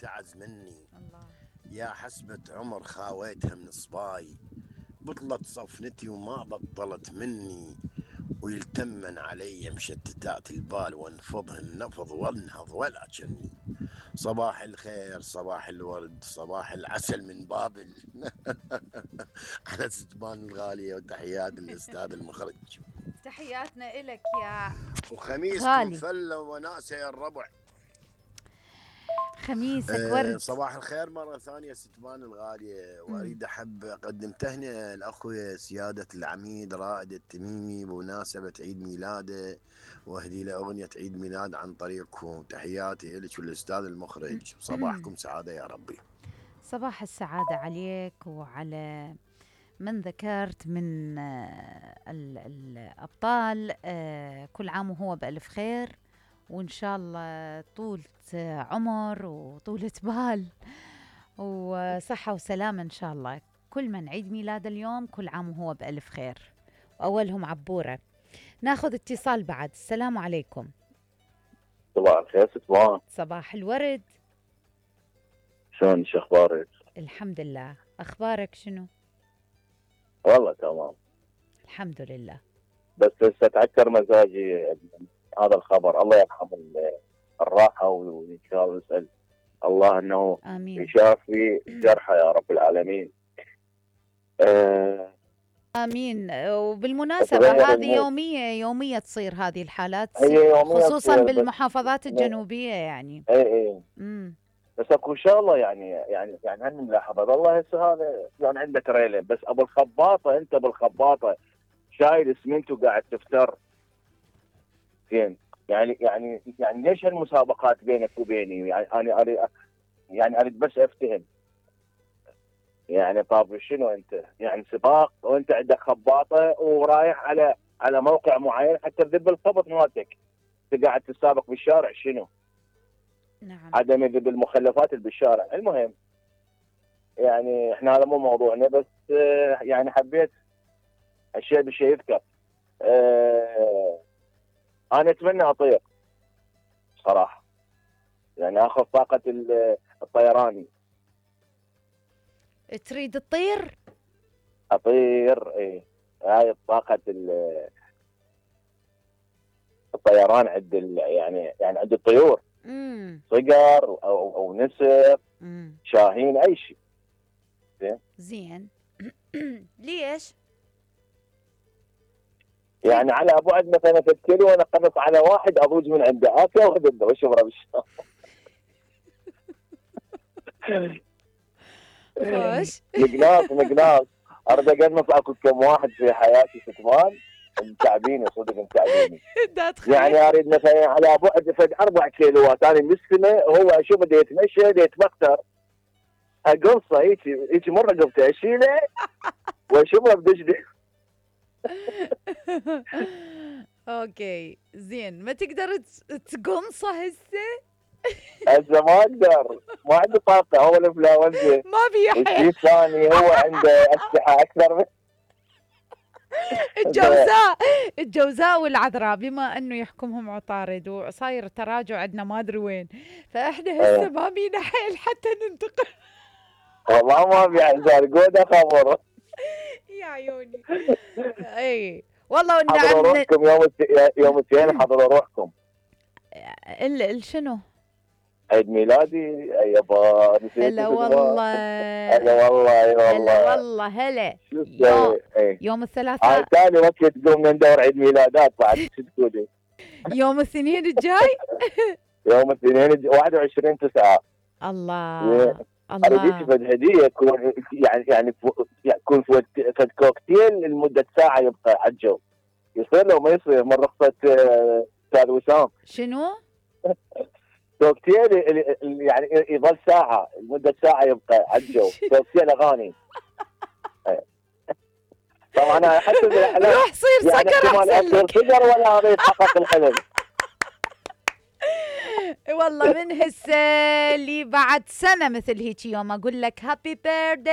تعز مني. الله. يا حسبة عمر خاويتها من صباي، بطلت صفنتي وما بطلت مني، ويلتمن علي مشتتات البال وانفضهن نفض وانهض ولا جني. صباح الخير، صباح الورد، صباح العسل من بابل. على ستبان الغالية، وتحيات الأستاذ المخرج. تحياتنا إلك يا وخميسكم غالي. فلة وناسة يا الربع. خميسك ورد. صباح الخير مرة ثانية ستبان الغالية، وأريد أقدم تهنئة لأخوي سيادة العميد رائد التميمي بمناسبة عيد ميلاده، وأهدي له أغنية عيد ميلاد عن طريقكم. تحياتي لك والأستاذ المخرج، صباحكم سعادة يا ربي. صباح السعادة عليك وعلى من ذكرت من الأبطال. كل عام وهو بألف خير، وإن شاء الله طولة عمر وطولة بال وصحة وسلامة إن شاء الله. كل من عيد ميلاد اليوم كل عام وهو بألف خير، وأولهم عبورة. ناخذ اتصال بعد. السلام عليكم. صباح الخير ستبان. صباح الورد. شلون شو اخبارك؟ الحمد لله، اخبارك شنو؟ والله تمام الحمد لله. بس هسه تعكر مزاجي هذا الخبر. الله يرحم الراحه، وان شاء الله نسال الله انه امين يشافي جرحى يا رب العالمين. امين. وبالمناسبه هذه يوميه تصير هذه الحالات، خصوصا تصير بالمحافظات الجنوبيه يعني. اي بس اكو شغله يعني هني ملاحظه. والله هسه هذا يعني عنده تريلر، بس ابو الخباطه انت بالخباطه شايل اسمنت وقاعد تفتر زين. يعني ليش هالمسابقات بينك وبيني؟ يعني انا اريد بس افتهم. يعني طاب شنو انت؟ يعني سباق وانت عندك خباطه ورايح على موقع معين حتى تذب الخبط مالتك، انت قاعد تسابق بالشارع شنو؟ نعم. عدم ذب المخلفات اللي بالشارع. المهم يعني احنا هذا مو موضوعنا، بس يعني حبيت الشيء بشيء يذكر. انا اتمنى اطير صراحه، يعني اخذ طاقه الطيراني. تريد تطير؟ اطير ايه. هاي طاقه الطيران عند يعني عند الطيور. صقر او نسر، شاهين، اي شيء. زين. ليش؟ يعني على بعد مثلا 3 كيلو وانا قنص على واحد اضوج من عنده اكل واخذ واشبره بالشارع. خوش. مقناص اريد اقنص اكو كم واحد في حياتي ستبان متعبيني صدق متعبيني. يعني اريد مثلا على بعد فد 4 كيلوات انا بالسنه، وهو اشوفه دا يتمشى دا يتبختر اقصه هيك مره قبته اشيله واشوفه بدجدي. اوكي زين. ما تقدر تقنصه هسه ما اقدر، ما عندي طاقه. هو الانفلونزا ما بيحيى. الشيء الثاني هو عنده اسلحه اكثر من الجوزاء والعذراء، بما انه يحكمهم عطارد وصاير تراجع عندنا ما ادري وين، فاحنا هسه ما بينا حيل حتى ننتقل. والله ما بيعزل قوده خبر يا عيوني. اي والله. حضروا روحكم يوم الاثنين، حضروا روحكم. شنو؟ عيد ميلادي يابا. هلا والله. هلا والله. هلا والله. هلا يوم الثلاثاء ثاني وقت تقوم ندور عيد ميلادات بعد تقولي. يوم الاثنين الجاي. يوم الاثنين 21/9. الله اريد فد هديه تكون يعني يكون فد كوكتيل لمده ساعه يبقى على الجو. يصير لو ما يصير من رخصه استاذ وسام. شنو؟ كوكتيل يعني يظل ساعه لمده ساعه يبقى على الجو. كوكتيل اغاني. طبعا انا حتى بالاحلام روح صير يعني سكر احسن لك. صقر ولا هذا يتحقق الحلم. والله من هسه لي بعد سنه مثل هيك يوم اقول لك هابي بيرثداي